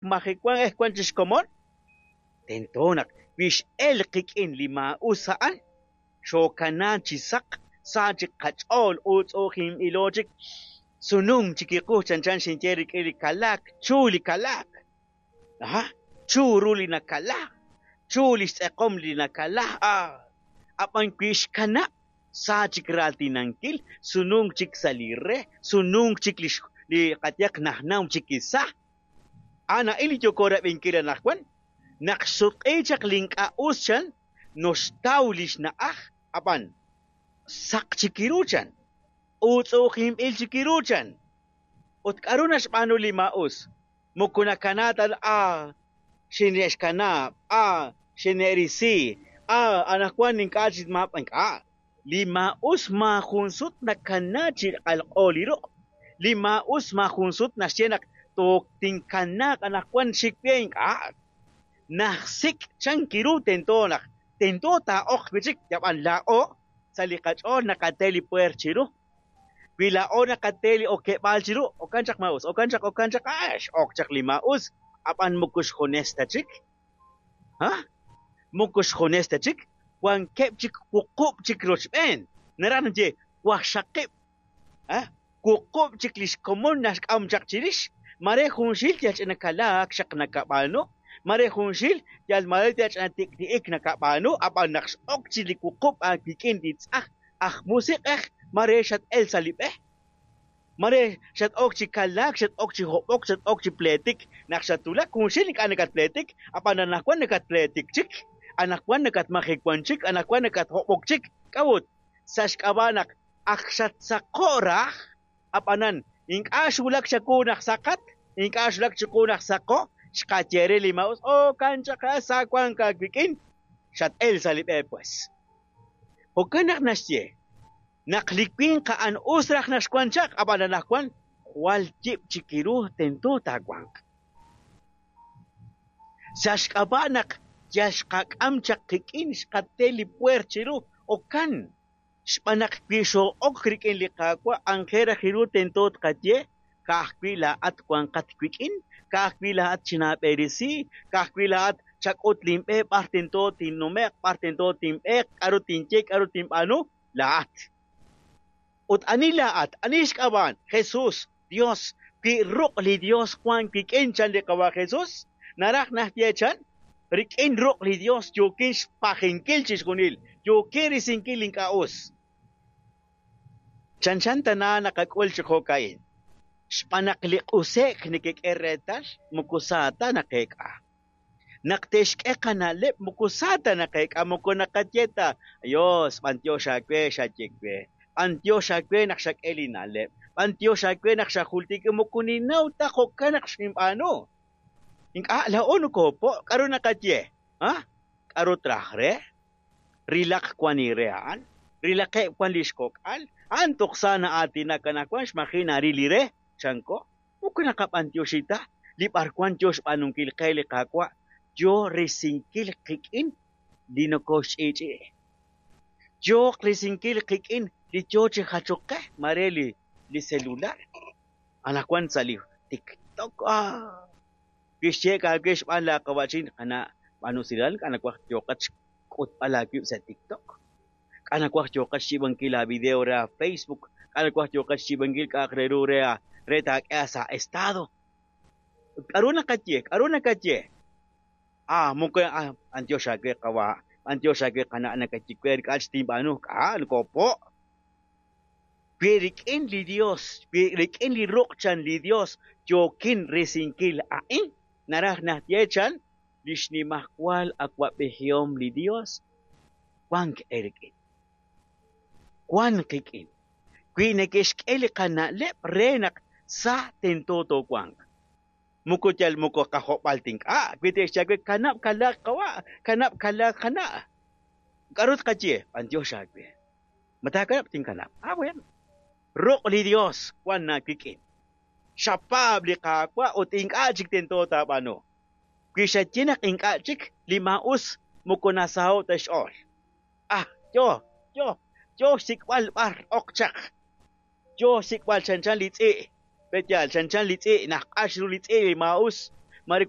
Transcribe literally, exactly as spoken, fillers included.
Majewank eh wank chi xkomon tento naq wi x'elk qik'in li maa'us a'an xookanaak chi saq sa chik qach'ool uutz'u'ujinb'ilo chik sununk chikiqu chanchan xinye rik'in li kalaak chu li kalaak aha chu ru li nakalaak chu li xtz'eqom li nakalaak ah ab'an wi xkanab' sa chik raaltinankil sununk chik sa' li re sununk chik li li qayehaq najnaw chik isa a'an a'in li yooko rab'inkil anaqwan naq xsutq'i chaq li ink'a' us chan noxtaw li xna'aj ab'an saq chik ru chan uutz'u'ujinb'il chik ru chan ut k'aru naxb'aanu li maa'us moko nakanaak ta ah xine'xkanab' ah xine'risi ah anaqwan ink'a' chik ma ink'a' li maa'us maajun sut nakanaak chi q'alq'o li ruq' li maa'us maajun sut naxye naq tinkanaaq anaqwan xik b'e ink'a' najsik' chan kiru tento naq tento taa'oq wi' chik yab'an laa'o sa' li qach'ool naqate li pueer chiru wi laa'o naqate li okeb'aal chiru okan chaq maa'us okan chaq okan chaq ah x'ok chaq li maa'us ab'an moko xjunes ta chik ha moko xjunes ta chik wankeb' chik wuqub' chik rochb'een naraj naxye waqxaqib' ah wuqub' chik li xkomon naxk'am chaq chirix mare junxil yal ch'ina kalaak xaq nakab'aanu mare junxil yal mare yal ch'ina tik'ti'ik nakab'aanu ab'an naq x'ok chi li wuqub' aawik'in li tz'aj aj musiq'ej mare xat-el sa' li b'e mare xat-ok chi kalaak xat-ok chi hob'ok xat-ok chi pleetik naq xatwulak junxil ink'a' nakatpleetik ab'an anaqwan nakatpleetik chik anaqwan nakatmajewan chik anaqwan nakathob'ok chik k'a'ut sa' xk'ab'a' naq ak xatsaqo' raj ab'anan ink'a' xwulak chawu naq saqat ink'a' xwulak chiqu naq saqo' xqaye re li maa'us okan chaq sa wank aawik'in xat-el sa' li b'e pues jo'kan naq naxye naq li winq a'an us raj naq xwank chaq ab'an anaqwan jwal yib' chik ru tento taawanq sa' xk'ab'a' naq yal xqak'am chaq qik'in xqate li pueer chiru okan xb'aan naq wi xoo'ok rik'in li Qaawa' anjel raj ru tento tqaye ka'ajwi' laa'at wanqat wik'in ka'ajwi' laa'at chinaab'erisi ka'ajwi' laa'at chak'ut linb'e b'ar tento tinnume'q b'ar tento tinb'eeq k'aru tinye k'aru tinb'aanu laa'at ut ani laa'at ani xk'ab'a'an Jesús Dios wi ruq' li Dios wank wik'in chan li Qawa' Jesús naraj naxye chan rik'in ruq' li Dios yookin xpajinkil chixjunil yookin risinkil ink'a' us chanchan tana naqak'ul chi jo'ka'in xb'aan naq li q'use'k nekek'e reetal moko sa ta naqeek'a naq te'xk'e qana'leb' moko sa ta naqeek'a moko naqaye ta Dios b'antiox aawe xaye we b'antiox aawe naq xak'e li na'leb' b'antiox aawe naq xajultik moko ninnaw ta jo'kan naq xinb'aanu ink'a' laa'o nokoopo' k'aru naqaye ha k'aru traj re rilaq wan li re a'an rilaqeb' wan li xkok'al a'an toj sa na'aatinak anaqwan xmaji' naril li re chanko moko naqab'antioxi ta li b'arwan yo xb'aanunkil qe li Qaawa' yo risinkil qik'in li nokoxch'i'ch'i'i yooq risinkil qik'in li yo chi jachok qe mare li li celular anaqwan sa' li TikTok ah kixye aawe xb'aan laaqawa'chin qana' b'aanu usilal k'a' nawaj yooqat xk'utb'al aawib' sa' TikTok k'a' nawaj yooqat xyiib'ankil aavideo re Facebook k'a' nawaj yooqat xyiib'ankil k'a'aq re ru re re taak'e sa' estado k'aru naqaye k'aru nakaye ah moko ah b'antiox aawe qawa' b'antiox aawe qana' nakaye we k'a' chik tinb'aanu k'a' nokoopo' wi rik'in li Dios wi rik'in li ruq' chan li Dios yookin risinkil a'in naraj naxye chan li xnimajwal awa'b'ejihom li Dios wank eerik'in wank qik'in wi neke'xk'e li qana'leb' re naq sa tento toowanq moko yal moko qajob'al tink'a' wi te'xye aawe kanab' kalaak qawa' kanab' kalaak qana' k'aru tqaye b'antiox aawe ma taakanab' tinkanab' ah bueno ruq' li Dios wank aawik'in xapaab' li Qaawa' ut ink'a' chik tento taab'aanu wi xaye naq ink'a' chik li maa'us moko nasaho' ta xch'ool ah yo yo yo xsik'b'al b'ar ok chaq yo xsik'b'al chanchan li tz'i' pe'yaal chanchan li tz'i' naq'ax ru li tz'i' li maa'us Mare wan